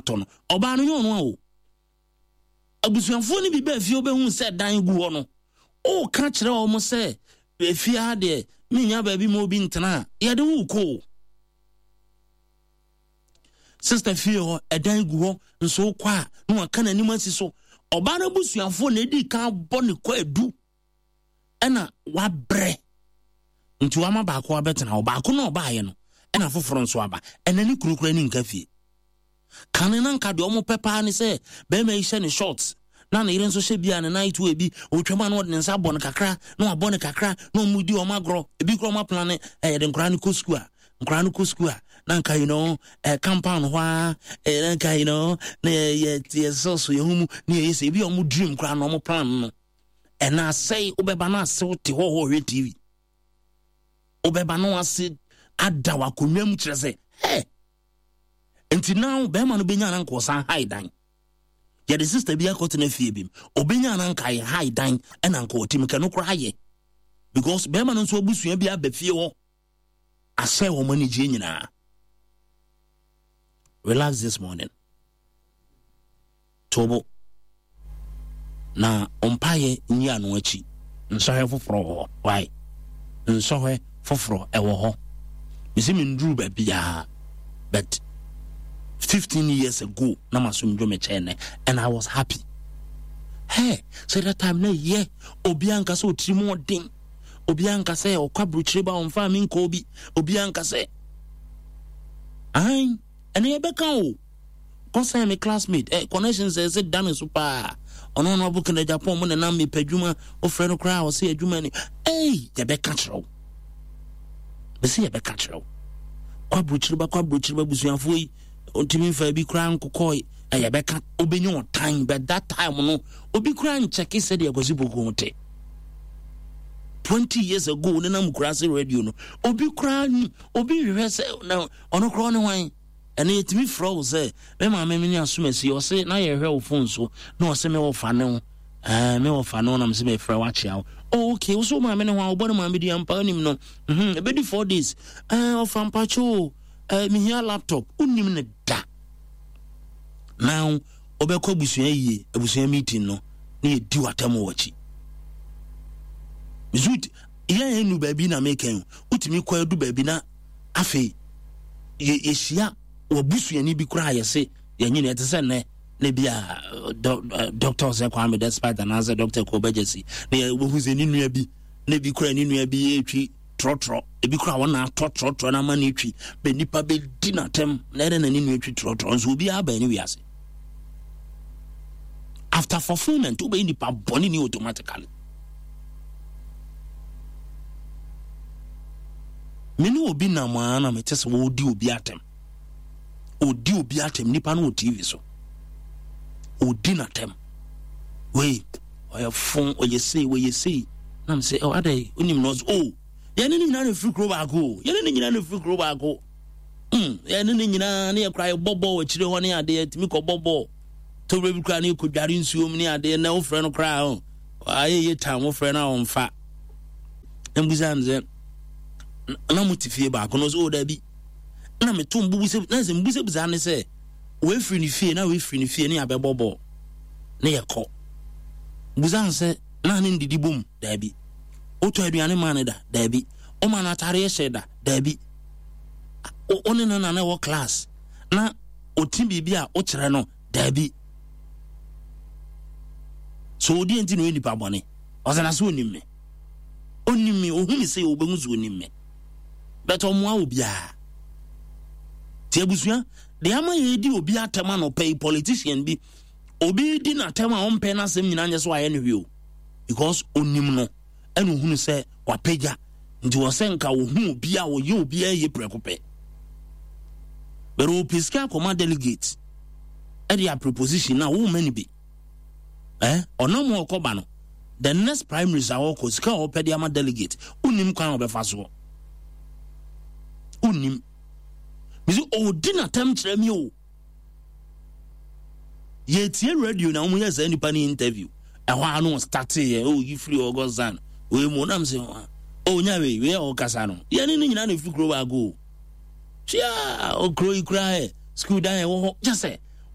atɔ no. Ɔbaa no nyɛ ɔno a o. Abusuafoɔ no bi baa fie wobɛhu sɛ dan gu hɔ no, woka kyerɛ wɔn sɛ efie ha deɛ menya baabi ma obi ntena a, yɛde wo kɔ o. Sista fie hɔ, ɛdan gu hɔ, nso wokɔ a na waka n'anim asi so. Ɔbaa no abusuafoɔ na edi kan bɔ ne kɔ adu ɛna wabrɛ nti wama baako abɛtena hɔ. Baako na ɔbaayɛ no ɛna foforɔ nso aba. Ɛna ne kunu koraa ni nka fie. Kane na nka deɛ ɔmo pɛ paa ne sɛ bɛrima yi hyɛ ne shorts na ne yere nso hyɛ bi a ne night wear bi, ɔtwam a na ɔde ne nsa abɔ no kakra na wabɔ no kakra na ɔmo di ɔmo agorɔ. Ebi koraa ɔmo aplan ne ɛyɛ de nkwadaa no kɔ sukuu a, nkwadaa no kɔ sukuu a na nka you know ɛ compound hɔ ara ɛ na nka you know na yɛ yɛ yɛ sɔsɔ yɛn ho mu na yɛyɛ sɛ ebi a ɔmo dream koraa na ɔmo plan no ɛna asɛe. Wobɛba na asew te hɔ hɔ hwɛ TV, wobɛba na wase ada w'akonnwa mu kyerɛ sɛ ɛ nti now bɛrima no bɛnya na nka ɔsan hae dan. Yɛde sister bi akɔtena fie bi mu, ɔbɛnya na nka yɛ hae dan ɛna nka ɔte mu kɛ no koraa yɛ because bɛrima no nso abusua bi aba fie hɔ asɛ wɔn anigyeɛ nyinaa. Relax this morning, tobo na mpaeɛ nyi ano akyi. Nsɔhwɛ foforɔ wɔ hɔ. Why? Nsɔhwɛ foforɔ ɛwɔ hɔ. Mesi menduru baabiaa, but 15 years ago na masomdwo me kyɛn nɛ and I was happy. Hey, sɛ that time na yɛ obiaa nka sɛ ɔtiri mu ɔden, obiaa nka sɛ ɔkɔ aburokyire ba ɔmfa me nkɔ obi, obiaa nka sɛ ahan ɛne yɛbɛka o kɔsɛn me classmate eh, connections ɛsɛ da me so paa. Ɔno no ɔbo kena Japan mu nenam mepɛ adwuma, wofrɛ no koraa ɔsɛ adwuma ni. Ei, yɛbɛka kyerɛ wo, bɛsɛ yɛbɛka kyerɛ wo kɔ aburokyire ba, kɔ aburokyire ba, abusuafoɔ yi ɔntumi mfa bi koraa nkokɔe na yɛbɛka wobɛnya ɔtan. But that time no obi koraa nkyɛke sɛdeɛ Kwasi Poku ho te. 20 years ago ne nam kura ase radio no, obi koraa ni obi hwehwɛ sɛ na ɔno koraa ɔne hwan. Ɛno yɛtumi frɛ wo sɛ me maame me ne asomasi, ɔse na yɛhwɛ wo phone so na ɔse me wɔfa ne wo ɛɛ me wɔfa ne wo na me sɛ mefrɛ wo akyea wo. Oh, okay, wo so wo maame ne ho a wobɔ ne maame di ampa wonim no. Ɛbɛdi 4 days ɛɛ ɔfa mpakyɛ o, ɛɛ mehia laptop. Wonim ne da. Now wobɛkɔ abusua yie, abusua meeting no na yɛdi w'atam wɔ akyi. Zut yɛn nu baabi na meka yi, wotumi kɔ adu baabi na afei yɛhyia wabusuani bi koraa yɛse yɛnyini ɛte sɛ nnɛ na bi a Dr. Sɛ Kwame Despite anaasɛ Dr. Kɔbɛgyasi na yɛwɔhu sɛ ne nua bi na bi koraa ne nua bi ɛtwi trɔtrɔ, ebi koraa wɔn na atɔ trɔtrɔ na ama ne twi bɛ nipa bɛdi n'atɛm na ɛdɛ na ne nua twi trɔtrɔ nso obiara bɛn ne wiase. After fulfillment wobɛyɛ nipa bɔne ni automatically. Me ne obi nam a na mete sɛ wɔredi obi atɛm, ɔdi obi atɛm, nipa no wɔ TV so ɔdi n'atɛm, wei ɔyɛ fon, ɔyɛ sei, ɔyɛ sei, na me sɛ ɔ adɛ onim no, ɔsɛ o yɛne ne nyinaa na ɛfiri kuro baako o, yɛne ne nyinaa na ɛfiri kuro baako, yɛne ne nyinaa ne yɛkora yɛbɔ bɔɔl akyire hɔ ne adeɛ, tumi kɔbɔ bɔɔl tɔwura bi koraa ne yɛkɔdware nsuom ne adeɛ, na wofrɛ no koraa o ayɛ yɛ tam, wofrɛ no a ɔmfa. Mbusa no sɛ na mo te fie baako no, ɔsɛ o dabi, na meto mbubusa na sɛ mbusabusa ne sɛ wɔafiri ne fie na wɔafiri ne fie ne yɛabɛbɔ bɔɔl ne yɛkɔ. Busa no sɛ na ne ndidi bom, daabi. Wotɔ aduane maa ne da, daabi. Woma no atareɛ hyɛ da, daabi. Wo ne no na na ɛwɔ class na ɔti biribi a wokyerɛ no, daabi. So ɔdeɛ nti na ɔyɛ nipa bɔne? Ɔsɛ na sɛ ɔnim me, ɔnim me, ɔhu me sɛ ɔbɛhu sɛ ɔnim me, but ɔmmoa obiara. Nti abusua deɛ ama yɛdi obi atɛm anɔpa yi, politician bi obi di n'atɛm a ɔmpɛ n'asɛm nyinaa nyɛ sɛ wayɛ no hwee o, because ɔnim no ɛna ɔhunu sɛ wapagya nti wɔ sɛ nka ɔhu obi a ɔyɛ obi a ɛyɛ prɛko pɛ, but ɔpɛ sika akɔma delegate ɛde a preposition na woma no bi ɔnam a ɔkɔba no, the next primaries a ɔkɔ, sika a ɔpɛ de ama delegate, wonim kwan a ɔbɛfa soɔ, wonim mesi ɔdi n'atɛm kyerɛ mi o. Yɛtie radio na wɔn yɛ saa nipa ne interview ɛhɔ ano ɔstate yɛ o yi firi ɔgɔsan wei mu ɔnam sɛ o nya wei wei a ɔkasa no yɛne ne nyinaa na efiri kuro baako o tua okuro yi kura ɛ sukuu dan ɛwɔ hɔ kyɛ sɛ.